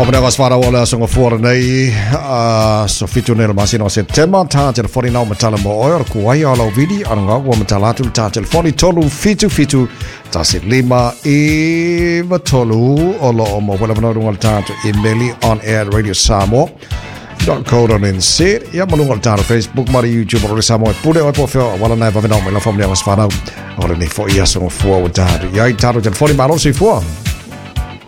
Whamanea was whārau o le aso ngafua nei, so fitu nei le masina o September, tā telefoni nau matala mo oe, o kuai o lau vidi, a ngā ua matala atu tā telefoni tolu fitu fitu, tasi lima iwa tolu, o lo o mo wela whanau runga le tātu emaili on air radio Samoa .co.nz ia malunga le tātu Facebook ma le YouTube o le Samoa e pule oe po whio wala nai wawenau mai la whamanea was whārau o le nei fo ia aso ngafua o tātu iai tātu telefoni malo soifua.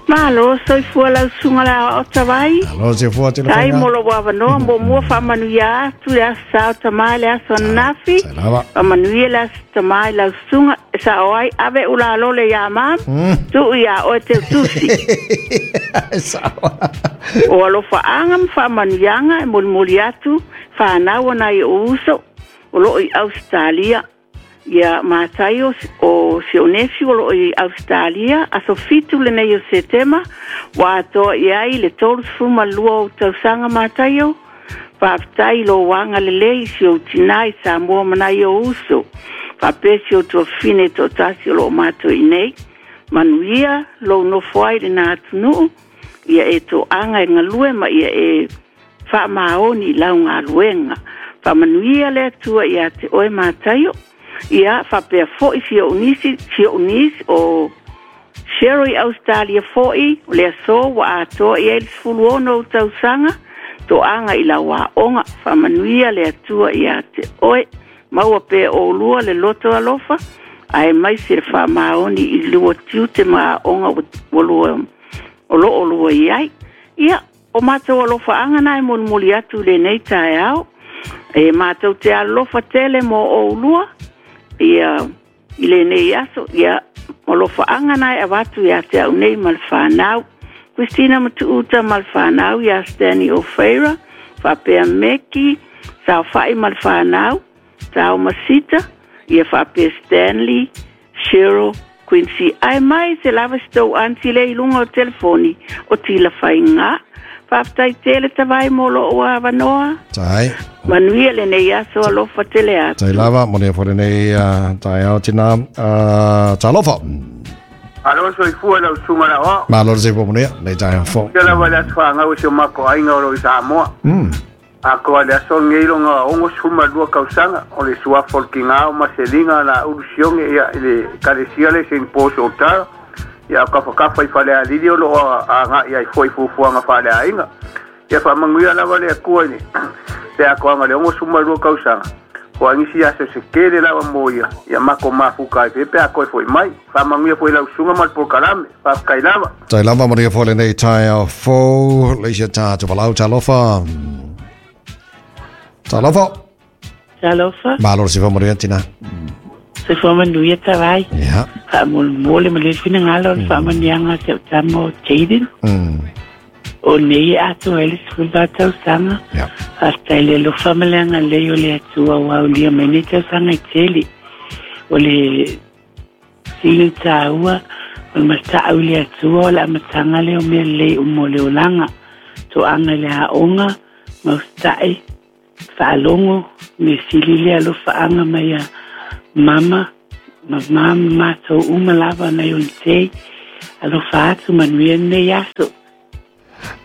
Malo soifua lau susuga le aoao tavai. Malo soifua tele Tai mo lou avanoa mo mua faamanuia atu le aso sa o tama i le aso ananafi. Faamanuia le aso tama i lau susuga e sao ai ave ulalole iā mam tuu iā oe teutusi. O alofaaga ma faamanuiaga e molimoli atu fanau a nai ou uso o loo i Ausetalia. Ia Mataio o si ou nefiu o loo i Ausetalia, aso 7 lenei o Setema, ua atoa i ai le 32 ou tausaga Mataio, faafetai i lou agalelei i si ou tinā i Samoa ma nai ou uso, faapea si ou tuafafine e toatasi o loo matou i nei. Manuia lou nofo ai i lena atunuu, ia e toaga e galue ma ia e faamaoni i lau galuega. Faamanuia le Atua ia te oe Mataio, ia faapea foi si ou nisi, si ou niece o Cheryl i Ausetalia foi, o le aso ua atoa i ai le 16 ou tausaga, toaga i lau aoga. Faamanuia le Atua ia te oe. Maua pea oulua le loto alofa, aemaise le faamaoni i lua tiute ma aoga ua lua o lo o lua i ai. Ia, o matou alofaaga na e molimoli atu i lenei taeao. E matou te alofa tele mo oulua, ia, i lenei aso, ia, o alofaaga na e avatu ia te au nei ma le whanau. Christina Matuuta ma le whanau ia Stanley O'Feira, faapea Meki, Saofai ma le whanau, Tao Masita, ia faapea Stanley, Cheryl, Quincy. Ae mai se lava si tou aunty lea i luga o telefoni o Tila Faiga. Faafetai tele Tavai mo lou avanoa. Tai. Manuia lenei aso alofa tele atu. Tai lava, manuia foi lenei taeao tina. Talofa. Malo soifua lau susuga le aoao. Malo le soifua manuia, lenei taeao fou. Ia lava le aso fanau o si o matou aiga o lo o i Samoa. Atoa le aso lenei lona 62 tausaga o le suafa o le tina o Maselina Laulu Sione ia i le Ekalesia lea i Saint Paul's Otara ia o tafatafa i Falealili o lo o agai ai foi i fuafuaga faaleaiga. Ia faamanuia lava le Atua i le atoaga o le 62 tausaga, hoai nisi aso se tele lava mo ia, ia matou mafuta ai pea pe a toe foi mai. Faamanuia foi i lau susuga ma le polokalame. Faafetai lava. Tai lava manuia foi lenei taeao fou, leisia tātou walau, talofa. Talofa. Talofa. Malo le soifua manuia tina. Soifua manuia tavai. Yeah. Faamolemole ma le finagalo o le faamanuiaga a si au tama o Jayden. O nei e atoa ai le 14 tausaga. Yeah. Faafetai i le alofa ma le agalelei o le Atua ua aulia mai nei tausaga e tele. O le sili taua o le matau i le Atua o le amataga lea o mea lelei uma o le olaga. Toaga i le aoga, mausita'i, faalogo, mea sili le alofaaga mai a mama ma ma ma matou uma lava nai ona tei. Alofa atu, manuia lenei aso.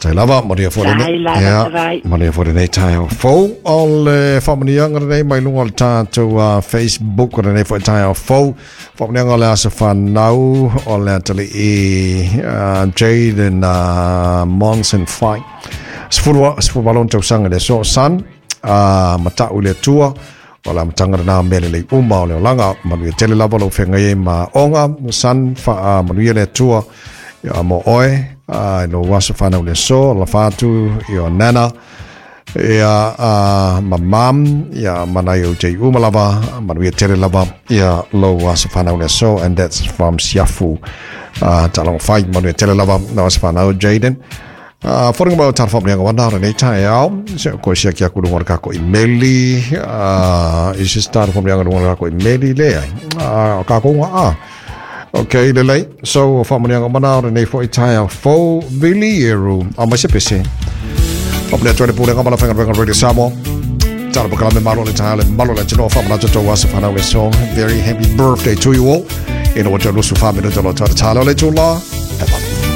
Tai lava, manuia foi lenei. Tai lava, Ia, tavai. manuia foi lenei taeao fou. O le faamanuiaga lenei mai luga o le tatou Facebook o lenei foi taeao fou. Faamanuiaga o le aso fanau o le atalii Jaden Monson Fai. 18 ona tausaga i le aso San, matau i le Atua, o le amataga lena o mea lelei uma o le olaga. Manuia tele lava lou feagai ai ma aoga, San, faamanuia le Atua ia mo oe, i lou aso fanau i le aso, alofa atu i o nana, ia ma mam, ia ma nai ou tei uma lava, manuia tele lava ia lou aso fanau i le aso, and that's from Siafu, Talonga Fai, manuia tele lava lau aso fanau, Jaden. Wharinga mai o tāna whaamanianga wana o lenei taeao. Se koe sia ki aku runga o le kako i meli. I se tāna whaamanianga runga o le kako i meli le ai. O kako unga a. Ok, lelei. So, whaamanianga mana o lenei fo i taeao fou vili eru. A mai se pese. Whaamania tuane pūrenga mana whainga whainga Radio Samoa. Tāna pakala me malo le taeao le malo le tino whaamana tō asa whanau le song. Very happy birthday to you all. Ina wa tō lusu whaamina tō lo tāna tāla le tū la. Have a